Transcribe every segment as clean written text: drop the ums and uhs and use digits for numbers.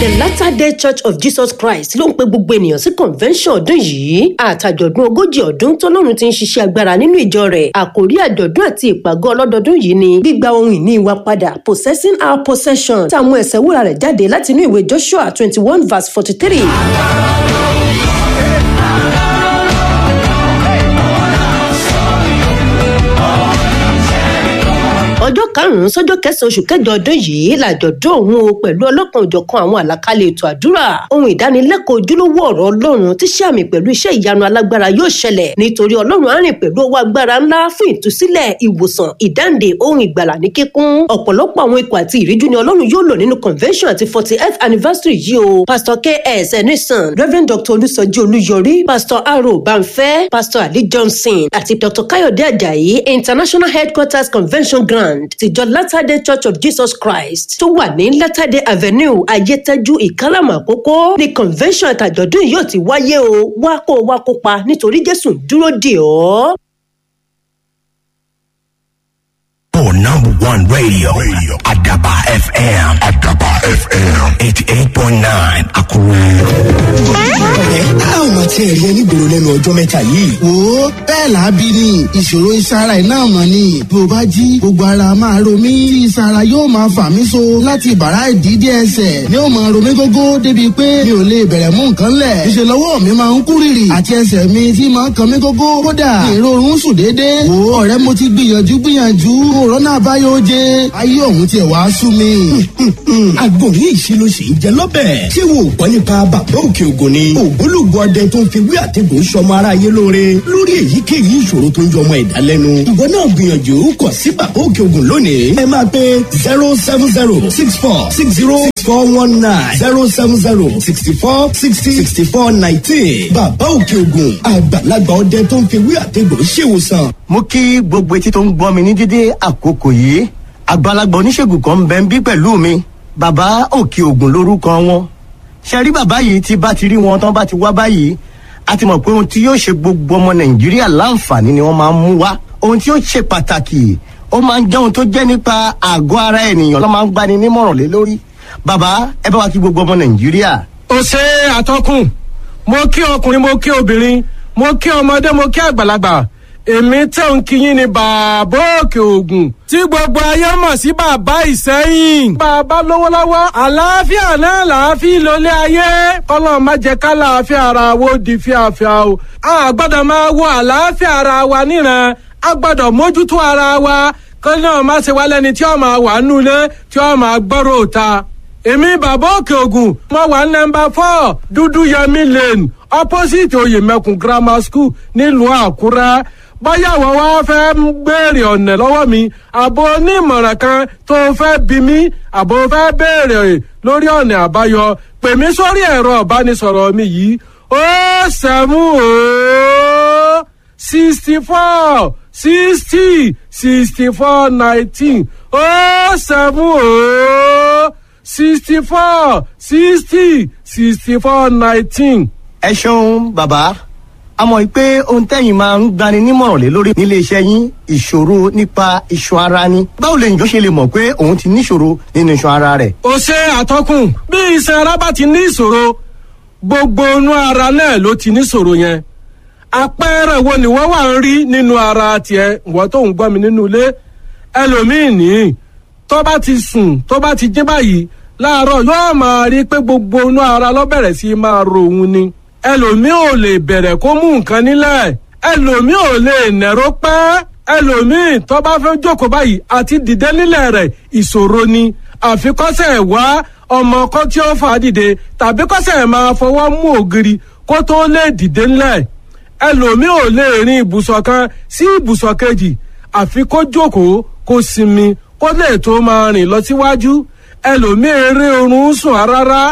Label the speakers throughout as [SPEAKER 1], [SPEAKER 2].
[SPEAKER 1] The Latter Day Church of Jesus Christ ló ń pe gbogbo ènìyàn sí convention ọdún yìí àtàjọ̀dún 40 ọdún tọ́lọ́run ti ń ṣiṣẹ́ agbára nínú ìjọ rẹ̀. Àkórí àjọ̀dún àti ìpàgọ́ ọlọ́dọọdún yìí ni gbígba ohun ìní wa padà, possessing our possession, táwọn ẹsẹ̀ wúrà rẹ̀ jáde látinú ìwé Joshua 21 verse 43. Ọjọ́ 5 sọ́jọ́ 9 oṣù kẹjọ ọdún yìí làjọ̀dún òun o, pẹ̀lú ọlọ́kan òjọ̀kan àwọn àlàkalẹ̀ ètò àdúrà, ohun ìdánilẹ́kọ̀ọ́, ojúlówó ọ̀rọ̀ Ọlọ́run tí ṣe àmì pẹ̀lú iṣẹ́ ìyanu alágbára yóò ṣẹlẹ̀, nítorí Ọlọ́run á rìn pẹ̀lú ọwọ́ agbára ńlá fún ìtúsílẹ̀, ìwòsàn, ìdáǹdè, ohun ìgbàlà ní kíkún. Ọ̀pọ̀lọpọ̀ àwọn ikọ̀ àti ìríjú ni Ọlọ́run yóò lò nínú convention àti 48th anniversary yìí o: Pastor K.S. Enison, Reverend Dr Olùsọjí Olúyọrí, Pastor Aro Banfẹ́, Pastor Ali Johnson àti Dr Kayode Ajayi. International Headquarters Convention Ground tìjọ Latter Day Church of Jesus Christ tó wà ní Latter Day Avenue, Ayétẹ́jú, Ìkálàmù Àkókò ní convention àtàjọ̀dún yóò ti wáyé o. Wá kó o wá kópa, nítorí Jésù ń dúró dè ọ́.
[SPEAKER 2] For number one radio, radio. Adaba FM. Adaba FM. 88.9 Akure.
[SPEAKER 3] Ọ̀rẹ́, a ò máa tiẹ̀ rí ẹni gbòòrò lẹ́nu ọjọ́ mẹ́ta yìí.
[SPEAKER 4] Wo, bẹ́ẹ̀ làábí ni ìṣòro ìsara iná mọ̀ ni. Bí o bá jí, gbogbo ara máa ro mí, ìsara yóò máa fà mí so láti ìbàrá ìdídé ẹsẹ̀ ni ó máa ro mí gógó, débi pé mi ò lè bẹ̀rẹ̀ mú nǹkan lẹ̀. Ìṣe lọ́wọ́ mi máa ń kú rìrì àti ẹsẹ̀ mi tí máa ń kan mí gógó. Kódà ìrorun sùn déédéé. Wo ọ̀rẹ́, mo ti gbìyànjú gbìyànjú, òrọ́nà àbáyọ oje, ayé òun tiẹ̀ wá sú mi.
[SPEAKER 3] Àgbo yìí ṣe ló ṣe ń jẹ lọ́bẹ̀. Ṣé wo ò gbọ́ nípa Bàbá Òkè Ògùn ni? Ògbólógbò ọdẹ tó ń fi wí àtẹ̀gùn sọmọ aráyé lóore lórí èyíkéyìí ìṣòro tó ń jọ ọmọ ẹ̀dá lẹ́nu. Ìwọ náà gbìyànjú kọ̀ sí Bàbá Òkè Ògùn lónìí. Ẹ máa pe 07064606419, 07064606419. Bàbá Òkè Ògùn, àgbàlagbà ọdẹ tó ń fi wí àtẹ̀gùn ṣèwòsàn.
[SPEAKER 5] Mo kí gbogbo etí tó ń gbọ́ mi ní dédé àkókò yìí. Àgbàlagbà oníṣègùn kan ń bẹ ń bí pẹ̀lú mi, Bàbá Òkè Ògùn lórúkọ wọn. Ṣe rí bàbá yìí, tí bá ti rí wọn tán bá ti wá báyìí, a ti mọ̀ pé ohun tí yóò ṣe gbogbo ọmọ Nàìjíríà láǹfààní ni wọ́n máa ń mú wá. Ohun tí yóò ṣe pàtàkì, ó máa ń jẹ́ ohun tó jẹ́ nípa àgọ́ ara ènìyàn ló máa ń gbani nímọ̀ràn lé lórí. Bàbá, ẹ bá wa kí gbogbo ọmọ Nàìjíríà.
[SPEAKER 6] Ó ṣe àtọkùn. Mo kí ọkùnrin, mo kí obìnrin, mo kí ọmọdé, mo kí àgbàlagbà. Èmi tẹ̀ ń kíyìn ní Bàbá Òkè Ògùn tí gbogbo ayé mọ̀ sí Bàbá Ìsẹ́yìn. Bàbá lówó lọ́wọ́, àlàáfíà náà làáfíà lólé ayé. Kọ́lọ́ má jẹ́ ká làáfíà ara wo di fíafíà o. A gbọ́dọ̀ máa wo àlàáfíà ara wa níran, a gbọ́dọ̀ mójútó ara wa, kọ́ náà má ṣe wá lẹ́ni tí ó máa wà nulẹ̀, tí ó máa gbọ́rọ̀ òta. Èmi Bàbá Òkè Ògùn, mo wà ní nọ́mbà 4 Dúdú Yẹmí Lane, opposite Oyèmẹkùn Grammar School, nílùú Àkúrẹ́. Bóyá àwọn wá fẹ́ ń béèrè ọ̀nà lọ́wọ́ mi, àbò onímọ̀ràn kan tó fẹ́ bí mi, àbò fẹ́ béèrè lórí ọ̀nà àbáyọ, pè mí sórí ẹ̀rọ ìbánisọ̀rọ̀ mi yìí: 070 64 60 64 19, 070 64 60 64 19.
[SPEAKER 5] Ẹ ṣeun bàbá. A mọ̀ pé ohun tẹ́yìn máa ń gbani nímọ̀ràn lé lórí nílé iṣẹ́ yín, ìṣòro nípa iṣan ara ni. Báwo lè yàn ṣe lè mọ̀ pé òun ti níṣòro nínú iṣan ara rẹ̀?
[SPEAKER 6] Ó ṣe àtọkùn. Bí iṣan ara bá ti ní ìṣòro, gbogbo inú ara náà ló ti níṣòro yẹn. Àpẹẹrẹ wo ni wọ́n wà ń rí nínú ara tiẹ̀, wọ́n tó ń gbọ́ mi nínú ilé? Ẹlòmíì ní tó bá ti sùn, tó bá ti jí báyìí láàárọ̀, yóò máa rí pé gbogbo inú ara ló bẹ̀rẹ̀ sí máa ro òun ni. Ẹlòmíì ò lè bẹ̀rẹ̀ kó mú nǹkan nílẹ̀, ẹlòmíì ò lè nẹ̀rọ pẹ́, ẹlòmíì tó bá fẹ́ jókòó báyìí, àti dìde nílẹ̀ rẹ̀ ìṣòro ni. Àfikọ́sẹ̀ wá ọmọ kọ́ tí ó fà á dìde, tàbí kọ́sẹ̀ máa fọwọ́ mú ògiri kó tó lè dìde nílẹ̀. Ẹlòmíì ò lè rin ibùsọ̀ kan sí ibùsọ̀ kejì, àfi kó jókòó, kó sinmi, kó lè tó máa rìn lọ síwájú. Ẹlòmíì eré oorun sùn rárá.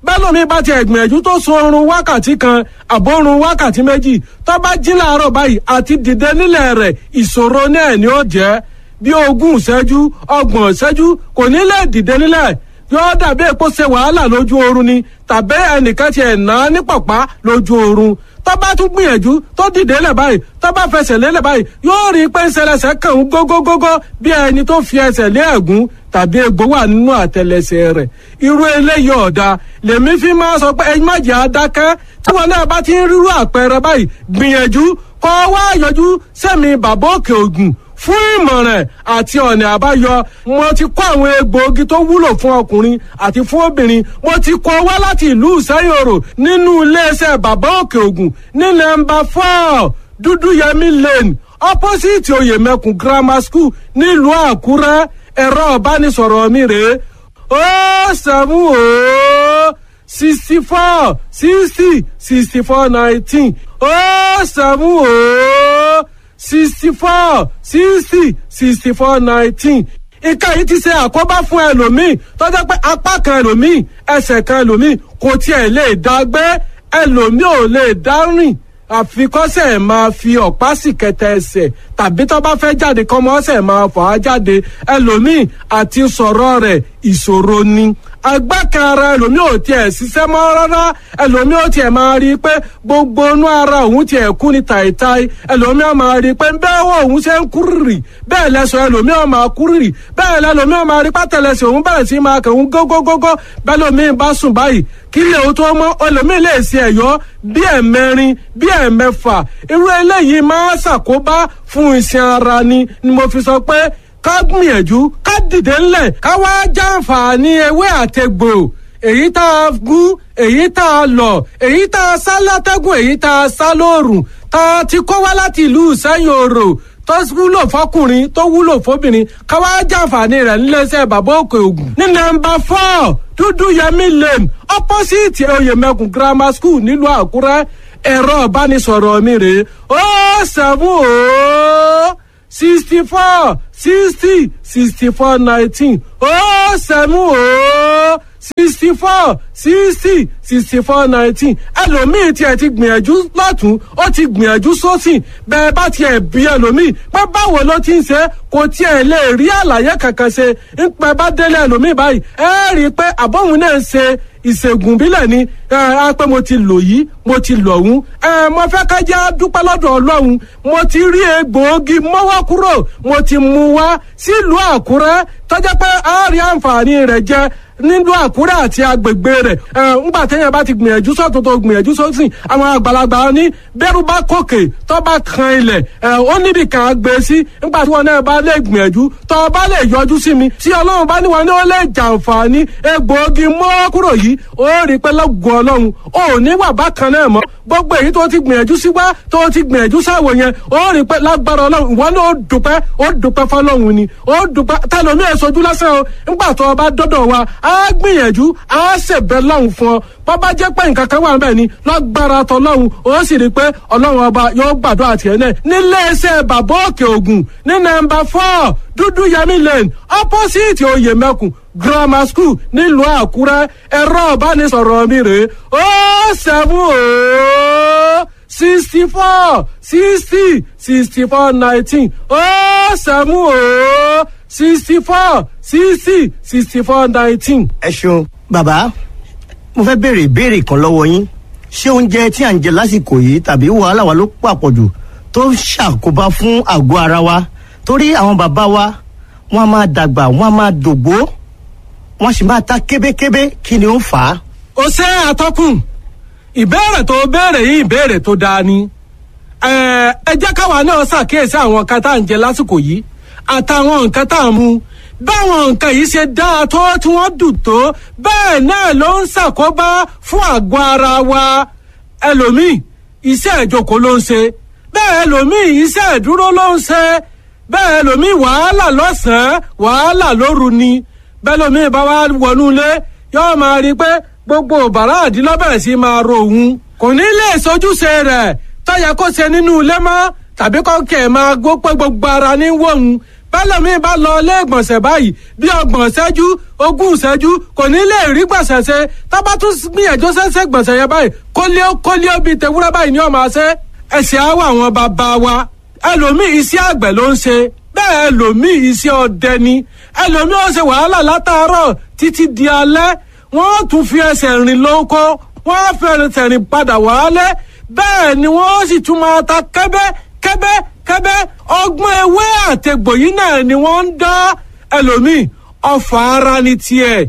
[SPEAKER 6] Bẹ́lòmíì bá ti ẹ̀gbìyànjú tó sun oorun wákàtí 1 àbórun wákàtí 2, tó bá jí láàárọ̀ báyìí, àti dìde nílẹ̀ rẹ̀ ìṣòro náà ni ó jẹ́. Bí 20 ìṣẹ́jú, 30 ìṣẹ́jú, kò ní lè dìde nílẹ̀. Yóò dàbí èpo ṣe wàhálà lójú oorun ni tàbí ẹnìkan ti ẹ̀ ná ní pọ̀pá lójú oorun. Tó bá tún gbìyànjú tó dìde lẹ̀ báyìí, tó bá fẹsẹ̀ lélẹ̀ báyìí, yóò rí i pé ń ṣẹlẹ̀ṣẹ̀ kàn ń gógógógó bí ẹni tó fi ẹsẹ̀ lé ẹ̀gún tàbí egbò wà nínú àtẹlẹsẹ̀ rẹ̀. Irú eléyìí ọ̀dà lèmi fi máa sọ pé ẹ má jẹ́ adákẹ́. Tí wọn náà bá ti ń rírú àpẹẹrẹ báyìí, gbìyànjú kọ́ wá yọjú sẹ́mi Bàbá Òkè Ògùn fún ìmọ̀ràn àti ọ̀nà àbáyọ. Mo ti kó àwọn egbòogi tó wúlò fún ọkùnrin àti fún obìnrin, mo ti kó wá láti ìlú Ìsẹ́yòrò nínú iléeṣẹ́ Bàbá Òkè Ògùn ní nọ́mbà 4 Dúdúyẹmí Lane, opposite Oyèmẹkùn Grammar School, nílùú Àkúrẹ́. Ẹ̀rọ ìbánisọ̀rọ̀ mi rèé: 070 64 60 64 19, 070 64 60 64 19. Ìka yìí ti ṣe àkóbá fún ẹlòmíì tó jẹ́ pé apá kan ẹlòmíì, ẹsẹ̀ kan ẹlòmíì kò tiẹ̀ lè dá gbé, ẹlòmíì ò lè dá rìn, àfikọ́sẹ̀ máa fi ọ̀pá sì kẹtẹ ẹsẹ̀, tàbí tó bá fẹ́ jáde kọ́mọ́sẹ̀ máa fà á jáde. Ẹlòmíì àti sọ̀rọ̀ rẹ̀ ìṣòro ni. Agbá kan ara ẹlòmíì ò tiẹ̀ ṣiṣẹ́ mọ́ rárá. Ẹlòmíì ò tiẹ̀ máa rí i pé gbogbo inú ara òun tiẹ̀ kú ni tàìtàì. Ẹlòmíì ò máa rí i pé bẹ́ẹ̀ wọ òun ṣe ń kúrìrì, bẹ́ẹ̀ lẹ́sọ̀ ẹlòmíì ò máa kúrìrì, bẹ́ẹ̀ lẹ́lòmíì ò máa rí pátẹ́lẹsẹ̀ òun bẹ̀rẹ̀ sí máa kàn ń gógógógó. Bẹ́ẹ̀ lòmíì bá sùn báyìí, kí lè o tó mọ́, ẹlòmíì lè ṣe ẹ̀yọ́ bí ẹ̀mẹrin, bí ẹ̀mẹfà. Irú eléyìí máa ṣàkóbá fún iṣan ara ni ni mo fi sọ pé ká gbìyànjú ká dìde ńlẹ̀, ká wá jàǹfààní ewé àtegbò, èyí tá a gún, èyí tá a lọ̀, èyí tá a sá látẹ́gùn, èyí tá a sá lóòrùn, tá a ti kó wá láti ìlú Ìsẹ́yìn Òrò, tó wúlò fọkùnrin, tó wúlò fóbìnrin, ká wá jàǹfààní rẹ̀ níléeṣẹ́ Bàbá Òkè Ògùn. Ní nọ́mbà 4 Dúdú Yẹmí Lane, opposite Oyèmẹkùn Grammar School, nílùú Àkúrẹ́. Ẹ̀rọ ìbánisọ̀rọ̀ mi rèé: 070 64 60 64 19, 070 64 60 64 19. Ẹlòmíì tiẹ̀ ti gbìyànjú lọ́tún, ó ti gbìyànjú sósì. Bẹ́ẹ̀ bá tiẹ̀ bí ẹlòmíì pé báwo ló ti ń ṣe, kò tiẹ̀ lè rí àlàyé kankan ṣe. Ń pẹ́ bá délé ẹlòmíì báyìí, ẹ rí i pé àbọ̀hún náà ń ṣe ìṣègùn bílẹ̀ ni. Ẹ á pé mo ti lò yìí, mo ti lò ọ̀hún. Ẹ mo fẹ́ ká jẹ́ dúpẹ́ lọ́dọ̀ Ọlọ́run. Mo ti rí egbòogi mọ́wọ́ kúrò, mo ti mú wá sílùú Àkúrẹ́ tọ́jà pé a rí àǹfààní rẹ̀ jẹ nílùú Àkúrẹ́ àti agbègbè rẹ̀. Ẹ ńgbà téèyàn bá ti gbìyànjú sọ́tún tó gbìyànjú sósì, àwọn àgbàlagbà ní bẹ́rù bá kòkè tó bá kan ilẹ̀, ẹ ó níbi kan gbé sí. Ńgbà tí wọn náà bá lè gbìyànjú tó bá lè yọjú sí mi, tí Ọlọ́run bá ní wọn ní ó lè jàǹfààní egbòogi mọ́wọ́ kúrò yìí, ó rí pé lọ́gùn Ọlọ́run ò ní wà bákan náà mọ́. Gbogbo èyí tó ti gbìyànjú sí wá, tó ti gbìyànjú sáwò yẹn, ó rí pé lágbára Ọlọ́run ìwọ náà ó dúpẹ́, ó dúpẹ́ fọlọ́run ni, ó dúpẹ́. Tẹlomi ẹ̀ sojú lásán o. Ńgbà tó o bá dọ́dọ̀ wa, á gbìyànjú, á ṣèbẹ̀ lọ́hùn fún ọ. Bàbá jẹ́ pé nǹkan kan wà ń bẹ̀ ni lágbára tọlọ́hun, ó sì rí i pé Ọlọ́run ọba yóò gbàdúrà tiẹ̀ náà. Nílé iṣẹ́ Bàbá Òkè Ògùn ní nọ́mbà 4 Dúdú Yẹmí Lane, opposite Oyèmẹkùn Grammar School, nílùú Àkúrẹ́. Ẹ̀rọ ìbánisọ̀rọ̀ mi rèé: 070 64 60 64 19, 070 64 60 64 19.
[SPEAKER 5] Ẹ ṣeun bàbá. Mo fẹ́ béèrè ìbéèrè kan lọ́wọ́ yín. Ṣé oúnjẹ tí à ń jẹ lásìkò yìí tàbí wàhálà wa ló pàpọ̀jù tó ń ṣàkóbá fún àgọ́ ara wa? Torí àwọn bàbá wa, wọ́n á máa dàgbà, wọ́n á máa dògbó, wọ́n sì máa ta kébékébé. Kí ni ó ń fà á?
[SPEAKER 6] Ó ṣe, àtọkùn. Ìbéèrè tó béèrè yìí, ìbéèrè tó dáa ni. Ẹ jẹ́ káwa náà ṣàkíyèsí àwọn nǹkan tá à ń jẹ lásìkò yìí àtàwọn nǹkan tá à ń mu. Báwọn nǹkan yìí ṣe dáa tó, tí wọ́n dùn tó, bẹ́ẹ̀ náà ló ń ṣàkóbá fún àgọ́ ara wa. Ẹlòmíì, iṣẹ́ ìjókòó ló ń ṣe. Bẹ́ẹ̀ ẹlòmíì, iṣẹ́ ìdúró ló ń ṣe. Bẹ́ẹ̀ ẹlòmíì, wàhálà lọ́sàn-án, wàhálà lóru ni. Bẹ́ẹ̀ lòmíì bá wá wọnú ilé, yóò máa rí i pé gbogbo bàrá àdínlọ́bẹ̀rẹ̀ sí máa ro òun, kò ní lè sojúṣe rẹ̀ tọ́yẹ kó ṣe nínú ilé mọ́, tàbí kọ́kẹ́ máa gbó pé gbogbo ara ní wọ̀hún. Bẹ́lẹ̀mí bá lọ ilé ìgbọ̀nsẹ̀ báyìí, bí 30 ìṣẹ́jú, 20 ìṣẹ́jú, kò ní lè rí gbọ̀nsẹ̀ ṣe. Tábà tún gbìyànjú ṣẹ́ṣẹ́ gbọ̀nsẹ̀ yẹn báyìí, kólíó kólíó bíi tewúrẹ́ báyìí ni ó máa ṣe. Ẹ̀sìn á wà àwọn bàbá wa. Ẹlòmíì, iṣẹ́ àgbẹ̀ ló ń ṣe. Bẹ́ẹ̀ ẹlòmíì, iṣẹ́ ọdẹ ni. Ẹlòmíì ó ṣe wàhálà látàárọ̀ títí di alẹ́, wọ́n tún fi ẹsẹ̀ rìn lóko, wọ́n fẹsẹ̀ rìn padà wálé. Bẹ́ẹ̀ ni wọ́n sì tún máa ta kẹ́bẹ́ kẹ́bẹ́ kẹ́bẹ́. Ọgbọ́n ewé àtegbò yìí náà ni wọ́n ń dá. Ẹlòmíì ọfà ara ni tiẹ̀,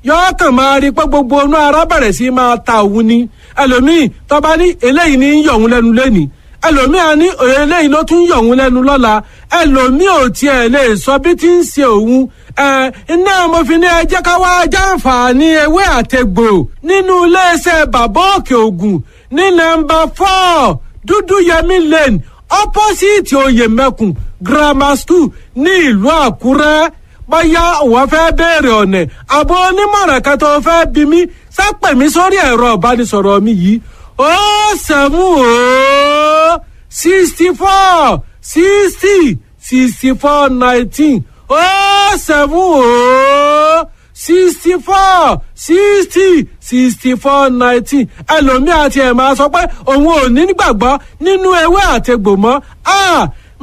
[SPEAKER 6] yọọ kàn máa rí pé gbogbo inú ara bẹ̀rẹ̀ sí máa ta òun ni. Ẹlòmíì tọ́ba ní eléyìí ní yọ̀ òun lẹ́nu lẹ́nìí, ẹlòmíì á ní eléyìí ló tún yọ̀ òun lẹ́nu lọ́la. Ẹlòmíì ò tiẹ̀ lè sọ bí ti ń ṣe òun. Iná mo fi ní ẹ jẹ́ ká wá jàǹfààní ewé àtegbò nínú iléeṣẹ́ Bàbá Òkè Ògùn ní nọ́mbà 4 Dúdú Yẹmí Lane, opposite Oyèmẹkùn Grammar School ní ìlú Àkúrẹ́. Bóyá òun fẹ́ béèrè ọ̀nà àbọ̀ onímọ̀ràn kan tó fẹ́ bí mi, sápẹ̀ mi sórí ẹ̀rọ ìbánisọ̀rọ̀ mi yìí: 070 64 60 64 19, 070 64 60 64 19. Ẹlòmíì àti ẹ̀ máa sọ pé òun ò ní gbàgbọ́ nínú ewé àtegbò mọ́.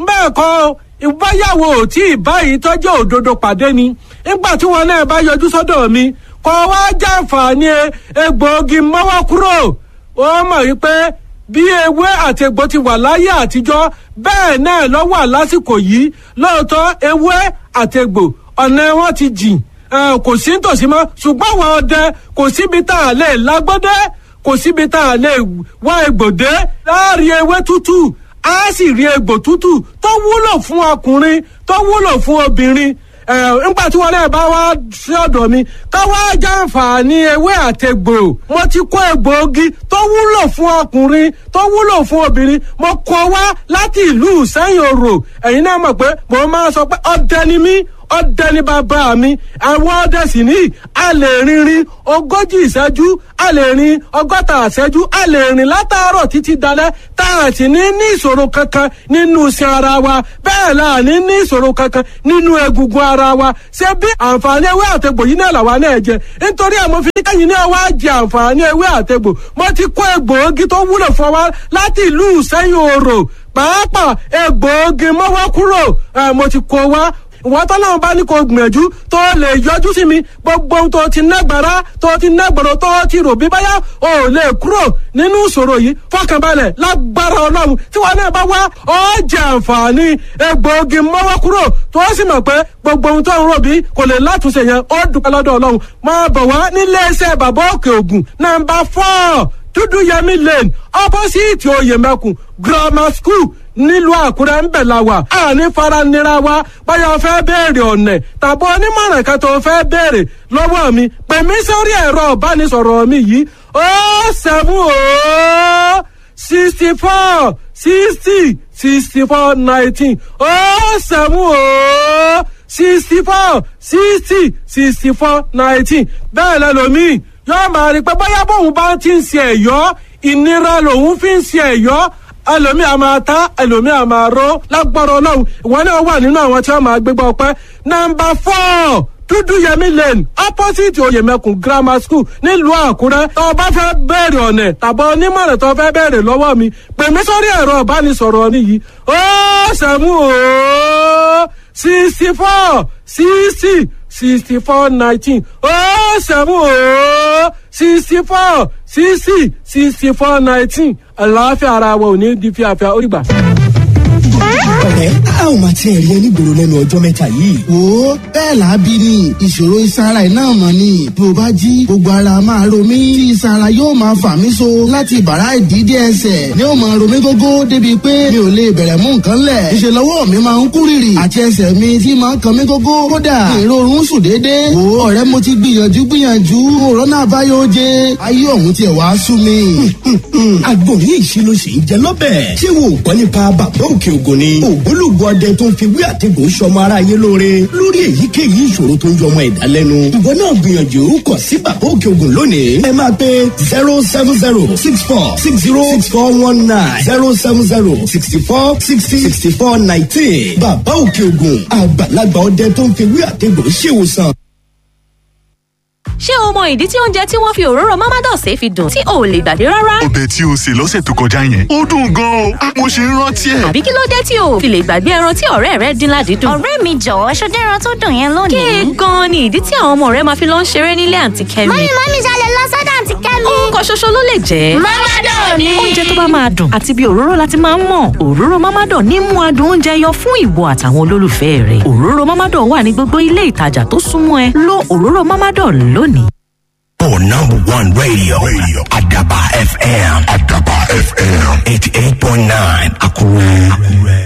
[SPEAKER 6] Bẹ́ẹ̀ kọ́, ìbáyàwó ò tí ì báyìí tọ́jú òdodo pàdé ni. Nígbà tí wọn náà bá yọjú sọ́dọ̀ mi kọ́ wá jàǹfààní egbòogi mọ́wọ́ kúrò, ó mọ̀ wípé bí ewé àti egbò ti wà láyé àtijọ́, bẹ́ẹ̀ náà ló wà lásìkò yìí. Lóòótọ́, ewé àti egbò ọ̀nà wọn ti jìn, kò sí nítòsí mọ́, ṣùgbọ́n àwọn ọdẹ kò síbi tá a lè lágbọ́dẹ́, kò síbi tá a lè wá egbòdé láàrin ewé tútù, á sì rí egbò tútù tó wúlò fún ọkùnrin, tó wúlò fún obìnrin. Nígbà tí wọn náà bá wá sí ọ̀dọ̀ mi ká wá jàǹfààní ewé àtegbò, mo ti kó egbòogi tó wúlò fún ọkùnrin, tó wúlò fún obìnrin, mo kó wá láti ìlú Ìsẹ́yìn Òrò. Ẹ̀yin náà mọ̀ pé mo máa sọ pé ọdẹ ni mí, ọdẹ ni bàbá mi. Àwọn ọdẹ sì ní a lè rìnrìn 40 ìṣẹ́jú, a lè rìn 60 ìṣẹ́jú, a lè rìn látàárọ̀ títí dalẹ́ tá a sì ní ní ìṣòro kankan nínú iṣan ara wa. Bẹ́ẹ̀ la ní ní ìṣòro kankan nínú egungun ara wa. Ṣé bí àǹfààní ewé àtegbò yìí náà làwa náà jẹ? Nítorí àmọ́ fi kẹ́yìn náà wá jẹ àǹfààní ewé àtegbò, mo ti kó egbòogi tó wúlò fún wa láti ìlú Ìsẹ́yìn Òrò, pàápàá egbòogi mọ́wọ́ kúrò, mo ti kó wá. Ìwọ́n tọ́lọ́run bá ní kó gbìyànjú tó lè yọjú sí mi, gbogbo ohun tó ti nágbára, tó ti nágbọ̀rọ̀, tó ti rò bí báyà ò lè kúrò nínú ìṣòro yìí, fọkànbalẹ̀, lágbára Ọlọ́run, tí wọn náà bá wá, ó jẹ àǹfààní egbòogi mọ́wọ́ kúrò, tó sì mọ̀ pé gbogbo ohun tó ń rò bí kò lè látúnṣe yẹn, ó dúpẹ́ lọ́dọ̀ Ọlọ́run. Máa bọ̀ wá nílé iṣẹ́ Bàbá Òkè Ògùn, nọ́mbà 4 Dúdú Yẹmí Lane, opposite Oyèmẹkùn Grammar School nílùú Àkúrẹ́ ń bẹ̀ la wà. Àní fara nira wa. Báyọ̀ fẹ́ béèrè ọ̀nà tàbí onímọ̀ràn kan tó fẹ́ béèrè lọ́wọ́ mi, pè mí sórí ẹ̀rọ ìbánisọ̀rọ̀ mi yìí: 070 64 60 64 19, 070 64 60 64 19. Bẹ́ẹ̀ lẹ́lòmíì yóò máa rí pé bóyá bóun bá ti ń ṣe ẹ̀yọ́, ìnira lòun fi ń ṣe ẹ̀yọ́. Ẹlòmíì a máa ta, ẹlòmíì a máa ró. Lágbára Ọlọ́run, ìwọ náà wà nínú àwọn tí wọ́n máa gbégbá ọpẹ́. Nọ́mbà 4 Dúdú Yẹmí Lane, opposite Oyèmẹkùn Grammar School nílùú Àkúrẹ́. Tó o bá fẹ́ bẹ̀rẹ̀ ọ̀nà tàbí onímọ̀ràn tó fẹ́ bẹ̀rẹ̀ lọ́wọ́ mi, pè mí sórí ẹ̀rọ ìbánisọ̀rọ̀ mi yìí: 070 64 60 64 19, 070 64 60 64 19. Àlàáfíà ara wa ò ní di fíafíà. Ó dìgbà.
[SPEAKER 3] Ọ̀rẹ́, a ò máa tiẹ̀ rí ẹni gbòòrò lẹ́nu ọjọ́ mẹ́ta yìí.
[SPEAKER 4] Wo, bẹ́ẹ̀ làábí ni. Ìṣòro iṣan ara ẹ̀ náà mọ̀ ni. Bí o bá jí, gbogbo ara máa ro mí tí iṣan ara yóò máa fà mí so láti ìbàrá ìdí dé ẹsẹ̀ ni ó máa ro mí gógó, débi pé mi ò lè bẹ̀rẹ̀ mú nǹkan lẹ̀. Ìṣe lọ́wọ́ mi máa ń kú rìrì àti ẹsẹ̀ mi tí máa ń kan mí gógó. Kódà ìrorun sùn déédéé. Wo ọ̀rẹ́, mo ti gbìyànjú gbìyànjú, òrónà àbáyọ oje, ayé ọ̀hún tiẹ̀ wá sú mi.
[SPEAKER 3] Àgbò yìí ṣe ló ṣe ń jẹ lọ́bẹ̀. Ṣé wo ò gbọ́ nípa Bàbá Òkè Ògùn ni? Ògbólógbò ọdẹ tó ń fi wí àtẹ̀gùn sọmọ aráyé lóore lórí èyíkéyìí ìṣòro tó ń yọmọ ẹ̀dá lẹ́nu. Ìwọ náà gbìyànjú kàn sí Bàbá Òkè Ògùn lónìí. Ẹ máa pe 07064606419, 07064606419. Bàbá Òkè Ògùn, àgbàlagbà ọdẹ tó ń fi wí àtẹ̀gùn ṣèwòsàn.
[SPEAKER 7] Ṣé o mọ ìdí tí oúnjẹ tí wọ́n fi òróró Mamados fi dùn tí o ò lè gbàgbé rárá?
[SPEAKER 8] Ọbẹ̀ tí o sè lọ́sẹ̀ tó kọjá yẹn, ó dùn gan-an o. Mo ṣe ń rántí ẹ̀.
[SPEAKER 7] Àbí kí ló dé tí o ò fi lè gbàgbé ẹran tí ọ̀rẹ́ rẹ dín ládìídùn?
[SPEAKER 9] Ọ̀rẹ́ mi jọ̀wọ́, ṣọdẹ́ ẹran tó dùn yẹn lónìí.
[SPEAKER 7] Kí gan-an ni ìdí tí àwọn ọmọ rẹ máa fi lọ ń ṣeré nílé àǹtí Kẹ́mi?
[SPEAKER 9] Mọ́mí, mọ́mí, ṣalẹ̀ lọ sọ́dọ̀ àǹtí Kẹ́mi.
[SPEAKER 7] Orúkọ ṣoṣo ló lè jẹ́.
[SPEAKER 9] Mamadan ni.
[SPEAKER 7] Oúnjẹ tó bá máa dùn àti bí òróró láti máa ń mọ̀. Òróró Mamadan ní mú adùn oúnjẹ yọ fún ìwọ àtàwọn olólùfẹ́ rẹ̀. Òróró Mamadan wà ní gbogbo ilé ìtajà tó súnmọ́ ẹ. Lo òróró Mamadan lónìí.
[SPEAKER 2] For number one radio, Adaba FM. Adaba FM. 88.9 Akure. Akure.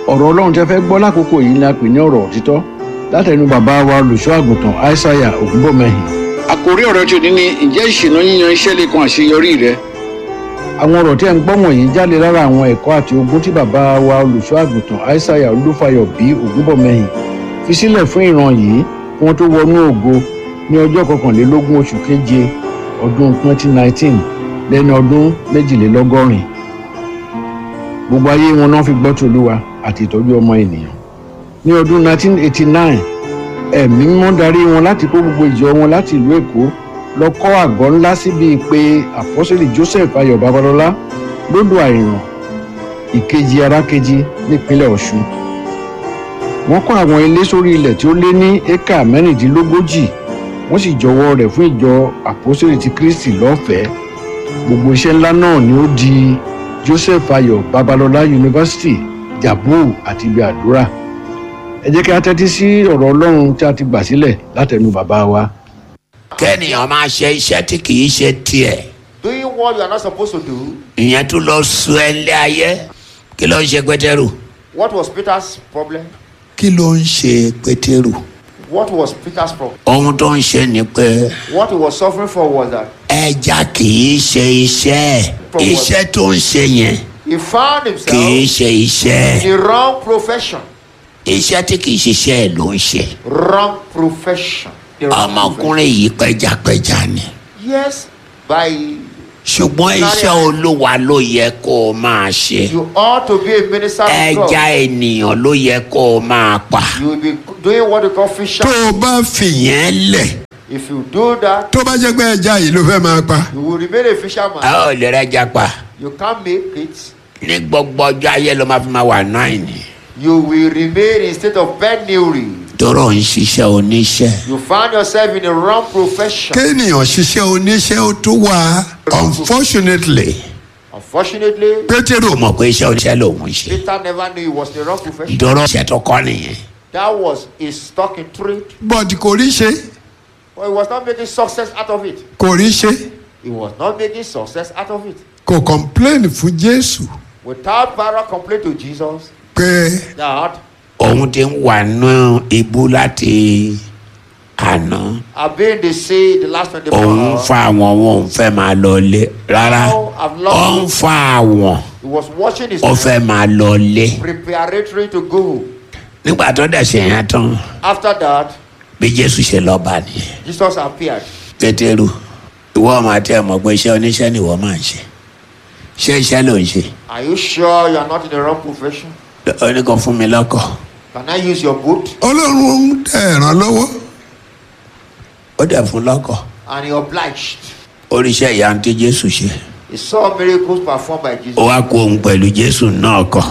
[SPEAKER 10] Ọ̀rọ̀ Ọlọ́run tẹ́ fẹ́ gbọ́ lákòókò yìí ni a pè ní ọ̀rọ̀ òtítọ́ látẹnu bàbá wa olùṣọ́ àgùntàn Aísáyà Ògúnbọ̀mẹ́hìn. Àkòrí ọ̀rọ̀ tí ò ní ní ǹjẹ́ ìṣìnà yíyan iṣẹ́ lè kan àṣeyọrí rẹ? Àwọn ọ̀rọ̀ tí ẹ̀ ń gbọ́ wọ̀nyí jáde lára àwọn ẹ̀kọ́ àti ogún tí bàbá wa olùṣọ́ àgùntàn Aísáyà Olúfayọ bí Ògúnbọ̀mẹ́hìn fi sílẹ̀ fún ìran yìí kí wọ́n tó wọnú ògo ní ọjọ́ 21 oṣù keje ọdún 2019 lẹ́ni ọdún 82. Gbogbo ayé wọn náà fi gbọ́ tòlúwa àti ìtọ́jú ọmọ ènìyàn. Ní ọdún 1989, ẹ̀mí mímọ́ darí wọn láti kó gbogbo ìjọ wọn láti ìlú Èkó lọ kọ́ àgọ́ ńlá síbi pé àpọ́sítélì Joseph Ayọ̀ Babalọ́lá lódò Àìràn, Ìkejì Arákejì, nípínlẹ̀ Ọ̀ṣun. Wọ́n kọ́ àwọn ilé sórí ilẹ̀ tí ó lé ní éka 36, wọ́n sì jọwọ́ rẹ̀ fún ìjọ àpọ́sítélì ti Kristi lọ́fẹ̀ẹ́. Gbogbo iṣẹ́ ńlá náà ni ó di Joseph Ayọ̀ Babalọ́lá University, Jabu àti ibi àdúrà. Ẹ jẹ́ kí a tẹ́tí sí ọ̀rọ̀ Ọlọ́run tí a ti gbà sílẹ̀ látẹnu bàbá wa.
[SPEAKER 11] Kẹ́nìyàn máa ṣe iṣẹ́ tí kì í ṣe tiẹ̀.
[SPEAKER 12] Doing what you are not supposed to do.
[SPEAKER 11] Ìyẹn tún lọ sọ ẹ lé ayé. Kí ló ń ṣe Pétérù?
[SPEAKER 12] What was Peter's problem?
[SPEAKER 11] Kí ló ń ṣe Pétérù?
[SPEAKER 12] What was Peter's problem?
[SPEAKER 11] Ohun tó ń ṣe ni pé
[SPEAKER 12] What he was suffering for was that
[SPEAKER 11] ẹja kì í ṣe iṣẹ́ ẹ̀. Iṣẹ́ tó ń ṣe yẹn
[SPEAKER 12] he found himself
[SPEAKER 11] kì í ṣe iṣẹ́
[SPEAKER 12] in
[SPEAKER 11] ẹ̀.
[SPEAKER 12] the wrong profession.
[SPEAKER 11] Iṣẹ́ tí kì í ṣiṣẹ́ ẹ̀ ló ń ṣe.
[SPEAKER 12] Wrong profession. The wrong
[SPEAKER 11] Ọmọkùnrin yìí pẹjapẹja ni.
[SPEAKER 12] Yes, by
[SPEAKER 11] Ṣùgbọ́n iṣẹ́ Olúwa ló yẹ kó o máa ṣe.
[SPEAKER 12] you ought to be a minister of God.
[SPEAKER 11] Ẹja ènìyàn ló yẹ kó o máa pa.
[SPEAKER 12] You will be doing what you call fisher.
[SPEAKER 13] Tó o bá fìyẹn lẹ̀,
[SPEAKER 12] If you do that,
[SPEAKER 13] tó bá jẹ́ pé ẹja yìí ló fẹ́ máa pa,
[SPEAKER 12] you will remain a fisherman.
[SPEAKER 11] A ò lè rẹ́ja pa.
[SPEAKER 12] You can't make it.
[SPEAKER 11] Ní gbogbo ọjọ́ ayé ló máa fi máa wà náà ní.
[SPEAKER 12] You will remain in state of penury.
[SPEAKER 11] Tọrọ ń ṣiṣẹ́ oníṣẹ́.
[SPEAKER 12] You find yourself in the wrong profession.
[SPEAKER 13] Kéèyàn ṣiṣẹ́ oníṣẹ́ ó tún wà. Unfortunately,
[SPEAKER 12] Unfortunately,
[SPEAKER 11] Pétérù mọ̀ pé iṣẹ́ oníṣẹ́ lòun ń ṣe.
[SPEAKER 12] Peter never knew he was in the wrong profession.
[SPEAKER 11] Tọrọ iṣẹ́ tó kọ́ nìyẹn.
[SPEAKER 12] That was his stock in trade.
[SPEAKER 13] But kò rí ṣe.
[SPEAKER 12] But he was not making success out of it.
[SPEAKER 13] Kò rí ṣe.
[SPEAKER 12] He was not making success out of it.
[SPEAKER 13] Kò complain fún Jésù
[SPEAKER 12] Without para complaint to Jesus
[SPEAKER 13] pé
[SPEAKER 12] that
[SPEAKER 11] Òun ti ń wà nù ibú láti àná.
[SPEAKER 12] I've been in the sea the last 24
[SPEAKER 11] Òun ń
[SPEAKER 12] hours.
[SPEAKER 11] fa àwọn, òun fẹ́ máa lọ lé. Rárá, ó ń fa àwọn,
[SPEAKER 12] He was watching his
[SPEAKER 11] ó fẹ́ máa lọ lé.
[SPEAKER 12] preparatory to go.
[SPEAKER 11] Nígbà tó dẹ̀ ṣe yẹn tán,
[SPEAKER 12] After that,
[SPEAKER 11] bí Jésù ṣe lọ bá nìyẹn.
[SPEAKER 12] Jesus appeared.
[SPEAKER 11] Pétérù, ìwọ ọmọ àti ẹ̀ mọ̀ pé iṣẹ́ oníṣẹ́ ni ìwọ máa ń ṣe. Ṣé iṣẹ́ ló ń ṣe?
[SPEAKER 12] Are you sure you are not in the wrong profession?
[SPEAKER 11] Ó ní kó fún mi lọ́kọ̀.
[SPEAKER 12] Can I use your boat?
[SPEAKER 13] Ọlọ́run ń dẹ̀ ràn lọ́wọ́.
[SPEAKER 11] Ó dẹ̀ fún lọ́kọ̀.
[SPEAKER 12] And he obliged.
[SPEAKER 11] Oríṣẹ́ ìyanu tí Jésù ṣe.
[SPEAKER 12] He saw miracles performed by Jesus.
[SPEAKER 11] Ó wá kó òun pẹ̀lú Jésù náà kọ̀.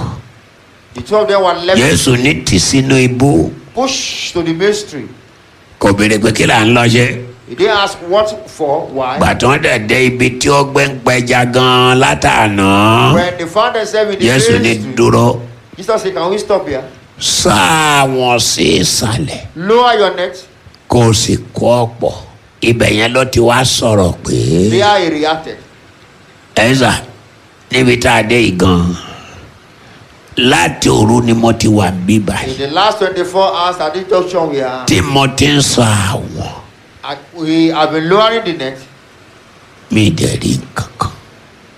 [SPEAKER 12] The two of them were left
[SPEAKER 11] Jésù ní tì sínú ibú.
[SPEAKER 12] pushed to the mystery.
[SPEAKER 11] Kò béèrè pé kí là ń lọ ṣe.
[SPEAKER 12] He didn't ask what for, why.
[SPEAKER 11] Gbà tí wọ́n dẹ̀ dé ibi tí ó gbé ń pẹja gan-an látàná.
[SPEAKER 12] When they found themselves in the
[SPEAKER 11] Jésù ní
[SPEAKER 12] mystery,
[SPEAKER 11] dúró.
[SPEAKER 12] Jesus said, "Can we stop here?
[SPEAKER 11] Sá wọn sí ìsàlẹ̀.
[SPEAKER 12] Lower your net."
[SPEAKER 11] Kó o sì kó ọ̀pọ̀. Ibẹ̀ yẹn ló ti wá sọ̀rọ̀ pé.
[SPEAKER 12] There he reacted.
[SPEAKER 11] Ẹ̀sà, níbi tá a dé yìí gan-an, láti òru ni mo ti wà bí báyìí.
[SPEAKER 12] In the last 24 hours at this junction, we are
[SPEAKER 11] Tí mo ti ń sọ àwọn,
[SPEAKER 12] and we have been lowering the net
[SPEAKER 11] mi dẹ̀ rí nǹkan kan.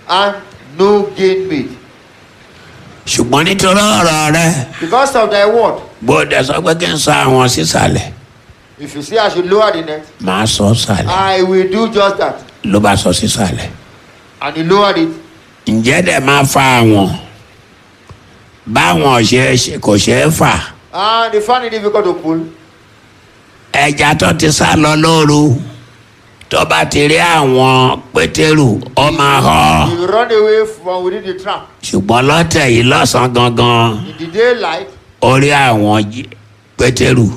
[SPEAKER 12] and no gain made.
[SPEAKER 11] Ṣùgbọ́n nítorí ọ̀rọ̀ rẹ,
[SPEAKER 12] Because of thy word,
[SPEAKER 11] gbọ́dọ̀ sọ pé kí n sọ àwọn sísàlẹ̀,
[SPEAKER 12] if you say I should lower the net,
[SPEAKER 11] màá sọ sàlẹ̀.
[SPEAKER 12] I will do just that.
[SPEAKER 11] Ló bá sọ sísàlẹ̀.
[SPEAKER 12] And he lowered it.
[SPEAKER 11] Ǹjẹ́ dẹ̀ máa fa àwọn? Báwọn ṣe kò ṣe é fà.
[SPEAKER 12] And they found it difficult to pull.
[SPEAKER 11] Ẹja tó ti sá lọ lóru tó bá ti rí àwọn Pétérù ó máa họ.
[SPEAKER 12] He will run away from within the trap.
[SPEAKER 11] Ṣùgbọ́n lọ́tẹ̀ yìí lọ́sàn-án gangan
[SPEAKER 12] In the daylight,
[SPEAKER 11] ó rí àwọn Pétérù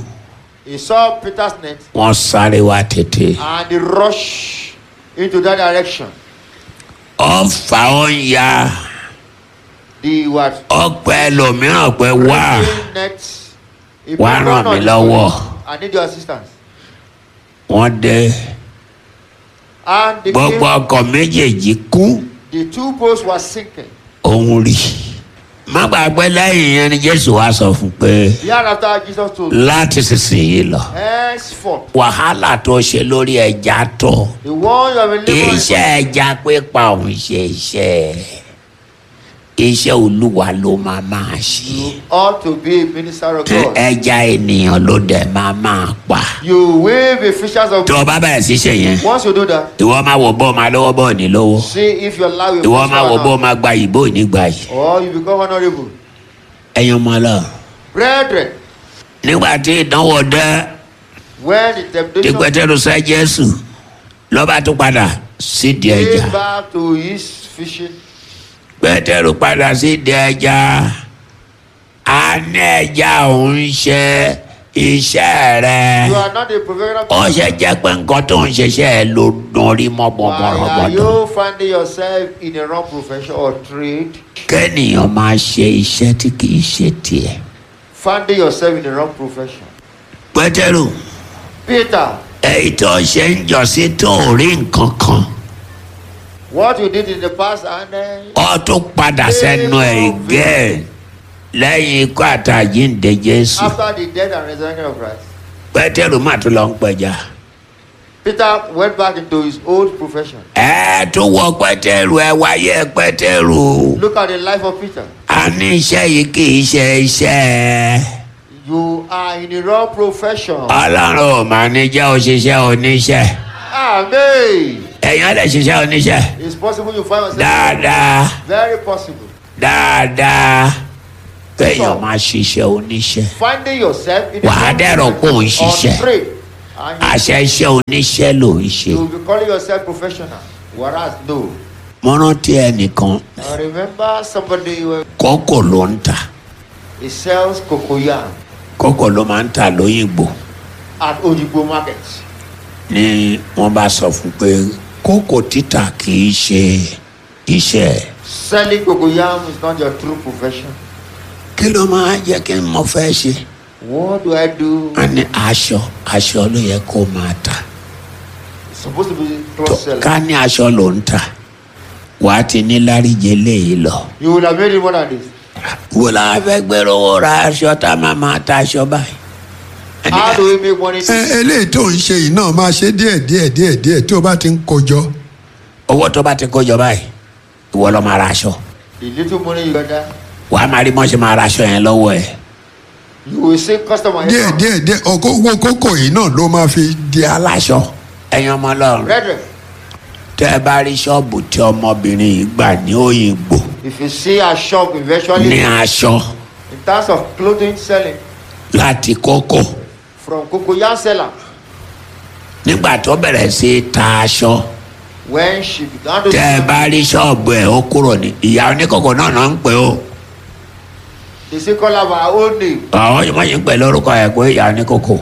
[SPEAKER 12] he saw Peter's net
[SPEAKER 11] wọ́n sáré wá tètè.
[SPEAKER 12] and he rushed into that direction.
[SPEAKER 11] Ó fà ó ń ya
[SPEAKER 12] The what?
[SPEAKER 11] ó pẹ́ lòmíràn pé wá
[SPEAKER 12] Net. He
[SPEAKER 11] wá
[SPEAKER 12] put
[SPEAKER 11] ràn
[SPEAKER 12] on
[SPEAKER 11] mí
[SPEAKER 12] his
[SPEAKER 11] lọ́wọ́.
[SPEAKER 12] I need your assistance.
[SPEAKER 11] Wọ́n dé
[SPEAKER 12] And the,
[SPEAKER 11] gbogbo ọkọ̀ méjèèjì kú
[SPEAKER 12] the two boats were sinking.
[SPEAKER 11] òun rí. Má gbàgbé lẹ́yìn yẹn ni Jésù wá sọ fún pé
[SPEAKER 12] Thereafter, Jesus told him,
[SPEAKER 11] láti sísìnyí lọ
[SPEAKER 12] henceforth,
[SPEAKER 11] wàhálà tó ṣe lórí ẹja tó
[SPEAKER 12] the one you have been laboring
[SPEAKER 11] iṣẹ́ ẹja pípa òun ṣe iṣẹ́ iṣẹ́ Olúwa ló máa máa ṣe
[SPEAKER 12] ought to be a minister of God.
[SPEAKER 11] ẹja ènìyàn ló dẹ̀ máa máa pa.
[SPEAKER 12] You will be fishers of
[SPEAKER 11] tó o bá bẹ̀rẹ̀ sí ṣe yẹn
[SPEAKER 12] Once you do that,
[SPEAKER 11] ìwọ máa wò bó máa lówó bó ní lówó
[SPEAKER 12] see if your life will
[SPEAKER 11] ìwọ máa
[SPEAKER 12] prosper
[SPEAKER 11] wò
[SPEAKER 12] or
[SPEAKER 11] bó
[SPEAKER 12] not,
[SPEAKER 11] máa gba yìí bó ní gba yìí.
[SPEAKER 12] or you become honorable.
[SPEAKER 11] Ẹ̀yin ọmọ lọ.
[SPEAKER 12] Brethren,
[SPEAKER 11] Nígbà tí ìdánwò dé
[SPEAKER 12] when the
[SPEAKER 11] tí
[SPEAKER 12] temptation
[SPEAKER 11] Pétérù sẹ́ Jésù ló bá tún padà sídìí ẹja.
[SPEAKER 12] came back to his fishing,
[SPEAKER 11] Pétérù padà sídìí ẹja a ní ẹja òun ṣe iṣẹ́ rẹ̀
[SPEAKER 12] you are not a professional.
[SPEAKER 11] ó ṣe jẹ́ pé nǹkan tó ń ṣiṣẹ́ ẹ ló dùn rí mọ́
[SPEAKER 12] Why are
[SPEAKER 11] bọ̀bọ̀rọ̀bọ̀dọ̀.
[SPEAKER 12] you finding yourself in a wrong profession or trade?
[SPEAKER 11] Kẹ́nìyàn máa ṣe iṣẹ́ tí kì í ṣe tiẹ̀.
[SPEAKER 12] Finding yourself in the wrong profession.
[SPEAKER 11] Pétérù
[SPEAKER 12] Peter,
[SPEAKER 11] èyí tó ṣe ń jọ sí tó ò rí nǹkan kan
[SPEAKER 12] what you did in the past and then
[SPEAKER 11] ó tún padà sẹ́nu ẹ̀ again lẹ́yìn ikú àtàjíǹde Jésù.
[SPEAKER 12] after the death and resurrection of Christ,
[SPEAKER 11] Pétérù má tún lọ ń pẹja.
[SPEAKER 12] Peter went back into his old profession.
[SPEAKER 11] Ẹ tún wọ Pétérù ẹ wáyé Pétérù.
[SPEAKER 12] Look at the life of Peter.
[SPEAKER 11] A ní iṣẹ́ yìí kì í ṣe iṣẹ́
[SPEAKER 12] You are in the wrong profession.
[SPEAKER 11] Ọlọ́run ò máa ní jẹ́ òṣìṣẹ́ oníṣẹ́.
[SPEAKER 12] Amen.
[SPEAKER 11] Ẹ̀yin lè ṣiṣẹ́ oníṣẹ́
[SPEAKER 12] It's possible you find yourself.
[SPEAKER 11] dáadáa
[SPEAKER 12] Very possible.
[SPEAKER 11] dáadáa kéèyàn máa ṣiṣẹ́ oníṣẹ́.
[SPEAKER 12] Finding yourself in the
[SPEAKER 11] Wàá
[SPEAKER 12] wrong
[SPEAKER 11] dẹ̀rọ̀ kó o ń
[SPEAKER 12] profession or
[SPEAKER 11] ṣiṣẹ́.
[SPEAKER 12] trade. And
[SPEAKER 11] Àṣẹ iṣẹ́ oníṣẹ́ ló ń ṣe.
[SPEAKER 12] you will be calling yourself professional. Whereas no.
[SPEAKER 11] Mo rántí ẹnìkan
[SPEAKER 12] I remember somebody who
[SPEAKER 11] kókò ló ń tà
[SPEAKER 12] he sells cocoyam
[SPEAKER 11] kókò ló máa ń tà lóyìnbó
[SPEAKER 12] at Odigbo market.
[SPEAKER 11] ni wọ́n bá sọ fún pé kókò títà kì í ṣe iṣẹ́ ẹ̀.
[SPEAKER 12] Selling cocoyam is not your true profession.
[SPEAKER 11] Kí ló máa jẹ́ kí n mọ fẹ́ ṣe?
[SPEAKER 12] What do I do?
[SPEAKER 11] A ní aṣọ aṣọ ló yẹ kó máa tà.
[SPEAKER 12] It's supposed to be cloth seller.
[SPEAKER 11] Ká ní aṣọ ló ń tà wàá ti ní láríje léyìí lọ.
[SPEAKER 12] You would have made it more than this.
[SPEAKER 11] Wo la fẹ́ gbèrò owó ra aṣọ tá a máa máa ta aṣọ báyìí?
[SPEAKER 12] How do we make money?
[SPEAKER 13] Ẹ eléyìí tó ń ṣe yìí náà máa ṣe díẹ̀ díẹ̀ díẹ̀ díẹ̀ tí o bá ti ń kojọ.
[SPEAKER 11] Owó tó bá ti kó jọ báyìí ìwọ lọ máa ra aṣọ.
[SPEAKER 12] The little money you gather,
[SPEAKER 11] Wàá máa rí mọ́ṣẹ́ máa ra aṣọ yẹn lọ́wọ́ ẹ̀.
[SPEAKER 12] you will see customer.
[SPEAKER 13] Díẹ̀ díẹ̀ díẹ̀ ọkọ owó kókò yìí náà ló máa fi di
[SPEAKER 11] aláṣọ. Ẹ̀yin ọmọ Ọlọ́run
[SPEAKER 12] Brethren,
[SPEAKER 11] tẹ́ ẹ bá rí ṣọ́ọ̀bù tí ọmọbìnrin yìí gbà ní Òyìngbò
[SPEAKER 12] if you see a shop eventually,
[SPEAKER 11] ní aṣọ
[SPEAKER 12] in terms of clothing selling,
[SPEAKER 11] láti kókò
[SPEAKER 12] from cocoyam seller,
[SPEAKER 11] nígbà tó bẹ̀rẹ̀ sí í ta aṣọ
[SPEAKER 12] when she began to
[SPEAKER 11] tẹ́ ẹ
[SPEAKER 12] sell,
[SPEAKER 11] bá rí ṣọ́ọ̀bù ẹ̀ ó kúrò ní ìyá oníkókò náà náà ń pè ó
[SPEAKER 12] they say call her by her own name,
[SPEAKER 11] àwọn yìí wọ́n yìí ń pè lórúkọ ẹ̀ pé ìyá oníkókò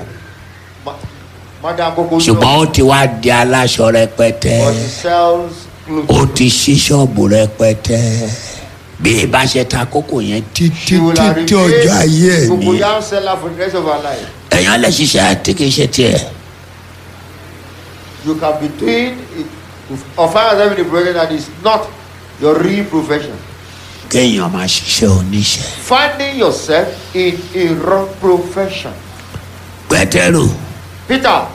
[SPEAKER 12] Madam Coco.
[SPEAKER 11] ṣùgbọ́n ó ti wá di aláṣọ rẹpẹtẹ
[SPEAKER 12] But she sells clothes.
[SPEAKER 11] ó ti ṣí ṣọ́ọ̀bù rẹpẹtẹ bí ìbá ṣe ta kókò yẹn títí
[SPEAKER 12] She will have
[SPEAKER 13] títí ọjọ́ ayé ẹ̀
[SPEAKER 12] remained
[SPEAKER 11] ní.
[SPEAKER 12] cocoyam seller for the rest of her life.
[SPEAKER 11] Èèyàn lè ṣiṣẹ́ tí kì í ṣe tiẹ̀.
[SPEAKER 12] You can be doing it or find yourself in a profession that is not your real profession.
[SPEAKER 11] Kéèyàn máa ṣiṣẹ́ oníṣẹ́.
[SPEAKER 12] Finding yourself in a wrong profession.
[SPEAKER 11] Pétérù
[SPEAKER 12] Peter,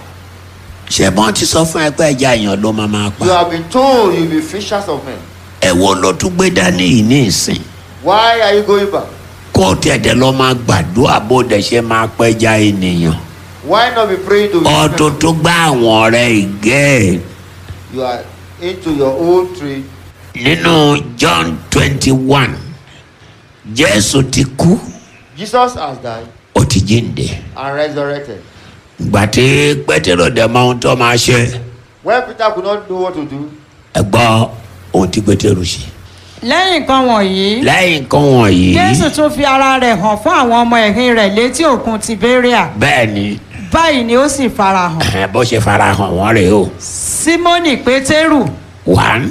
[SPEAKER 11] ṣé bọ́n ti sọ fún ẹ pé ẹja èèyàn ló máa máa pa.
[SPEAKER 12] you have been told you'll be fishers of men.
[SPEAKER 11] Ẹ wo ló tún gbé dání yìí ní ìsìn.
[SPEAKER 12] Why are you going back?
[SPEAKER 11] Kó o tiẹ̀ dẹ̀ lọ máa gbàdúrà bó dẹ̀ ṣe máa pẹja ènìyàn.
[SPEAKER 12] Why not be praying to
[SPEAKER 11] Ọdún tó gbá àwọn ọ̀rẹ́ ìgẹ́
[SPEAKER 12] You are into your own trade.
[SPEAKER 11] nínú John 21 Jésù ti kú
[SPEAKER 12] Jesus has died
[SPEAKER 11] ó ti jíǹde.
[SPEAKER 12] and resurrected.
[SPEAKER 11] Ìgbà tí Pétérò dẹ̀ mọ ohun tó máa ṣe.
[SPEAKER 12] When Peter could not know what to do,
[SPEAKER 11] Ẹ gbọ́ ohun tí Pétérò ṣe.
[SPEAKER 14] Lẹ́yìn nǹkan wọ̀nyí,
[SPEAKER 11] Lẹ́yìn nǹkan wọ̀nyí.
[SPEAKER 14] Jésù tún fi ara rẹ̀ hàn fún àwọn ọmọ ẹ̀yìn rẹ̀ létí òkun Tìbéríà.
[SPEAKER 11] Bẹ́ẹ̀ ni.
[SPEAKER 14] Báyìí ni ó sì farahàn.
[SPEAKER 11] Bó ṣe farahàn wọ́n rèé o.
[SPEAKER 14] Símónì Pétérù
[SPEAKER 11] 1,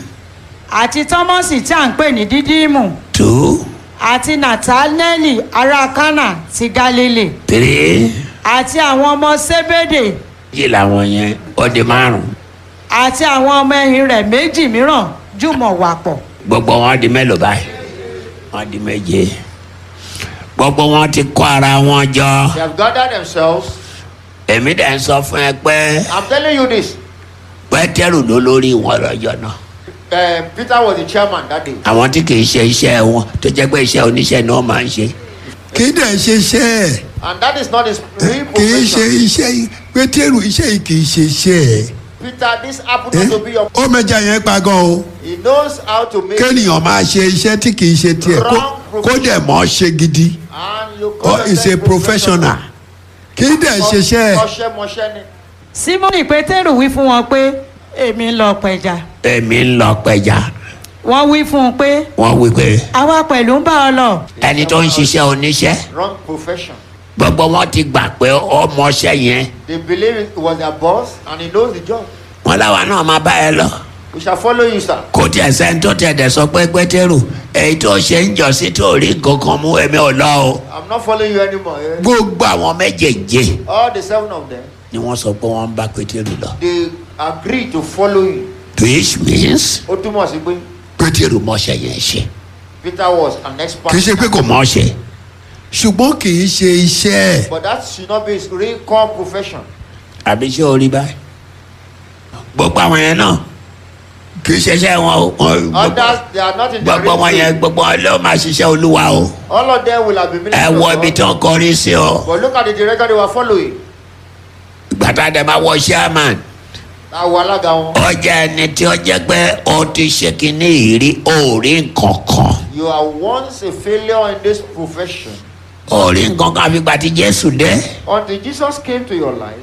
[SPEAKER 14] àti Tọ́mọ́sì tí à ń pè ní Dídímù
[SPEAKER 11] 2,
[SPEAKER 14] àti Nàtánẹ́lì ará Kánà ti Gálílì
[SPEAKER 11] 3.
[SPEAKER 14] àti àwọn ọmọ Sébédè
[SPEAKER 11] Yìí làwọn yẹn ó di 5.
[SPEAKER 14] àti àwọn ọmọ ẹ̀yìn rẹ̀ méjì mìíràn jùmọ̀ wà pọ̀.
[SPEAKER 11] Gbogbo wọn di mélòó báyìí? Wọ́n di 7. Gbogbo wọn ti kó ara wọn jọ.
[SPEAKER 12] They have gathered themselves.
[SPEAKER 11] Èmi dẹ̀ ń sọ fún ẹ pé
[SPEAKER 12] I'm telling you this.
[SPEAKER 11] Pétérù ló lórí wọn lọ́jọ́ náà.
[SPEAKER 12] Peter was the chairman that day.
[SPEAKER 11] Àwọn tí kì í ṣe iṣẹ́ wọn tó jẹ́ pé iṣẹ́ oníṣẹ́ ni wọ́n máa ń ṣe.
[SPEAKER 13] Kì í dẹ̀ ṣe iṣẹ́ ẹ̀.
[SPEAKER 12] And that is not his real
[SPEAKER 13] Kì í ṣe
[SPEAKER 12] profession.
[SPEAKER 13] iṣẹ́ yìí. Pétérù, iṣẹ́ yìí kì í ṣe iṣẹ́ ẹ̀.
[SPEAKER 12] Peter, this happened not to be your.
[SPEAKER 13] Ó mẹja yẹn pa gan o.
[SPEAKER 12] He knows how to make.
[SPEAKER 13] Kéèyàn máa ṣe iṣẹ́ tí kì í ṣe tiẹ̀ kó dẹ̀ mọ́ ṣe gidi.
[SPEAKER 12] And you call
[SPEAKER 13] Ó is a
[SPEAKER 12] yourself
[SPEAKER 13] professional. Kì í dẹ̀ ṣe iṣẹ́ ẹ̀.
[SPEAKER 12] Mọṣẹ́mọṣẹ́ ni.
[SPEAKER 14] Símónì Pétérù wí fún wọn pé, èmi ń lọ pẹja.
[SPEAKER 11] Èmi ń lọ pẹja.
[SPEAKER 14] Wọ́n wí fún un pé,
[SPEAKER 11] Wọ́n wí pé
[SPEAKER 14] àwa pẹ̀lú ń bá ọ lọ.
[SPEAKER 11] ẹni tó ń ṣiṣẹ́ oníṣẹ́,
[SPEAKER 12] Wrong profession.
[SPEAKER 11] gbogbo wọn ti gbà pé ọmọọṣẹ́ yẹn.
[SPEAKER 12] They believe it was their boss and he knows the job.
[SPEAKER 11] Wọ́n láwa náà máa bá ẹ lọ.
[SPEAKER 12] We shall follow you, sir.
[SPEAKER 11] Kò tiẹ̀ sẹ́ni tó tiẹ̀ dẹ̀ sọ pé Pétérù èyí tó ṣe ń jọ sí tó rí nǹkan kan mú, èmi ò lọ o.
[SPEAKER 12] I'm not following you anymore. Eh?
[SPEAKER 11] Gbogbo àwọn méjèèjì
[SPEAKER 12] All the 7 of them,
[SPEAKER 11] ni wọ́n sọ pé wọ́n ń bá Pétérù lọ.
[SPEAKER 12] they agreed to follow you.
[SPEAKER 11] Which means
[SPEAKER 12] Ó túmọ̀ sí pé
[SPEAKER 11] Pétérù mọṣẹ́ yẹn ṣe.
[SPEAKER 12] Peter was an expert.
[SPEAKER 13] Kì í ṣe pé
[SPEAKER 11] kò mọ̀ ṣe.
[SPEAKER 13] Ṣùgbọ́n kì í ṣe iṣẹ́ ẹ̀.
[SPEAKER 12] But that should not be his real core profession.
[SPEAKER 11] Àbí ṣé o rí báyìí? Gbogbo àwọn yẹn náà kì í ṣiṣẹ́ wọn o.
[SPEAKER 12] Others, they are not in the
[SPEAKER 11] Gbogbo
[SPEAKER 12] real
[SPEAKER 11] wọn yẹn,
[SPEAKER 12] field.
[SPEAKER 11] gbogbo wọn ló máa ṣiṣẹ́ Olúwa o.
[SPEAKER 12] All of them will have been
[SPEAKER 11] Ẹ
[SPEAKER 12] ministers
[SPEAKER 11] wọ
[SPEAKER 12] of
[SPEAKER 11] ibi
[SPEAKER 12] God.
[SPEAKER 11] tí wọ́n kọrí sí o.
[SPEAKER 12] But look at the direction they were following.
[SPEAKER 11] Gbàtà dẹ̀ máa wọ chairman.
[SPEAKER 12] Àwọn alága wọn.
[SPEAKER 11] Ó jẹ́ ẹni tí ó jẹ́ pé ó ti ṣe kínní ìrí òórí nǹkan kan.
[SPEAKER 12] You are once a failure in this profession.
[SPEAKER 11] Òórí nǹkan kan àfìgbà tí Jésù dé.
[SPEAKER 12] Until Jesus came to your life,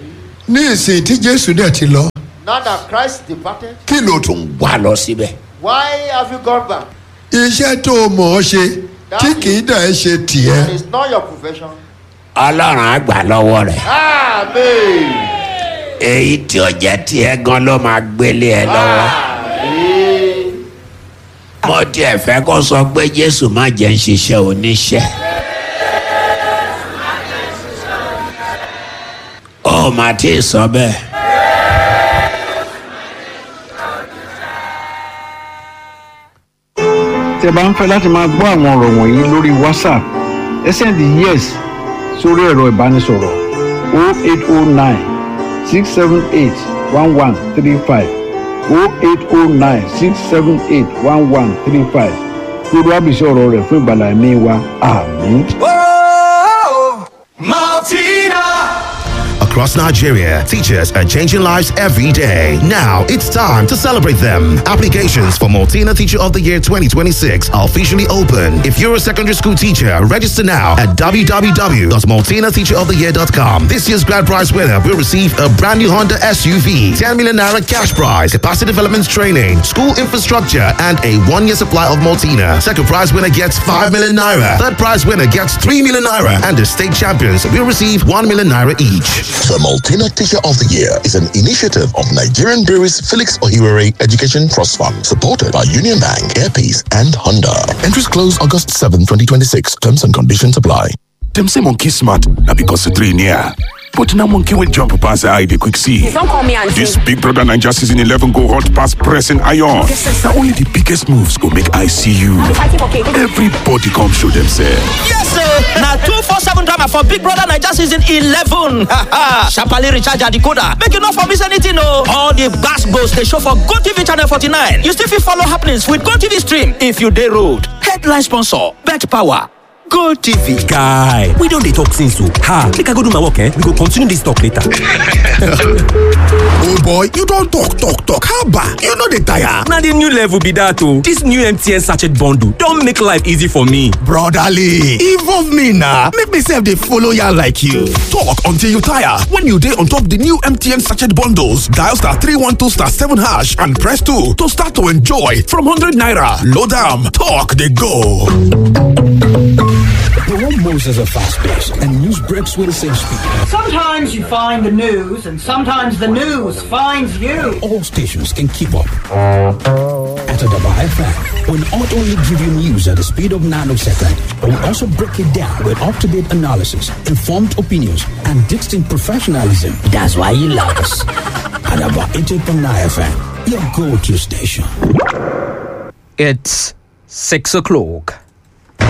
[SPEAKER 13] Ní ìsìn tí Jésù dẹ̀ ti lọ,
[SPEAKER 12] now that Christ departed,
[SPEAKER 11] Kí ló tún wà lọ síbẹ̀?
[SPEAKER 12] why have you gone back?
[SPEAKER 13] iṣẹ́ tó o mọ̀ ọ́ ṣe tí kì í dẹ̀ ṣe tiẹ̀.
[SPEAKER 12] And it's not your profession.
[SPEAKER 11] Ọlọ́run á gbà lọ́wọ́ rẹ̀.
[SPEAKER 12] Amen.
[SPEAKER 11] Èyí tí ó jẹ́ tiẹ̀ gan ló máa gbélé ẹ lọ́wọ́. Mo tiẹ̀ fẹ́ kó sọ pé Jésù má jẹ́ ń ṣiṣẹ́ oníṣẹ́. Ó mà tí ì sọ bẹ́ẹ̀.
[SPEAKER 10] Tí ẹ bá ń fẹ́ láti máa gbọ́ àwọn ọ̀rọ̀ wọ̀nyí lórí WhatsApp, ẹ send YES sórí ẹ̀rọ ìbánisọ̀rọ̀ 0809 678 1135, 0809 678 1135. Lórí àbísí ọ̀rọ̀ rẹ̀ fún ìgbàlá ẹ̀mí wa. Àmín.
[SPEAKER 2] Martina! Across Nigeria, teachers are changing lives every day. Now it's time to celebrate them. Applications for Maltina Teacher of the Year 2026 are officially open. If you're a secondary school teacher, register now at www.maltinateacheroftheyear.com. This year's grand prize winner will receive a brand new Honda SUV, 10 million naira cash prize, capacity development training, school infrastructure, and a 1-year supply of Maltina. Second prize winner gets 5 million naira. Third prize winner gets 3 million naira. And the state champions will receive 1 million naira each.
[SPEAKER 15] The Maltina Teacher of the Year is an initiative of Nigerian Breweries Felix Ohiwere Education Trust Fund, supported by Union Bank, Airpeace, and Honda. Entries close August 7, 2026. Terms and conditions apply.
[SPEAKER 8] Dem say monkey smart, na because the tree near. But now monkey will jump past the eye they quick see.
[SPEAKER 16] Don't call me auntie.
[SPEAKER 8] This Big Brother Naija season 11 go hot past pressing iron. Now only the biggest moves go make I see you. Everybody come show themselves.
[SPEAKER 17] Yes, sir. Now 247 drama for Big Brother Naija season 11. Sharply recharge your decoder. Make you not for miss anything, no. All the gas goes they show for GoTV channel 49. You still fit follow happenings with GoTV stream if you dey road. Headline sponsor, Bet Power.
[SPEAKER 16] GoTV.
[SPEAKER 18] Guy, we don dey talk since o. Ha, make I go do my work, eh? We go continue this talk later.
[SPEAKER 19] Oh boy, you don talk talk talk, haba, you no dey tire.
[SPEAKER 18] Na the new level be that o. This new MTN sachet bundle don make life easy for me.
[SPEAKER 19] Brotherly, involve me na, make me sef dey follow ya like you. Talk until you tire when you dey on top the new MTN sachet bundles. Dial *312*7# and press 2 to start to enjoy from 100 naira. Load am, talk dey go.
[SPEAKER 20] The world moves at a fast pace, and news breaks with the same speed.
[SPEAKER 21] Sometimes you find the news, and sometimes the news finds you.
[SPEAKER 20] All stations can keep up. At Adaba FM, we not only give you news at the speed of nanosecond, but we also break it down with up-to-date analysis, informed opinions, and distinct professionalism. That's why you love us. Adaba 88.9 FM, your go-to station.
[SPEAKER 22] It's 6 o'clock.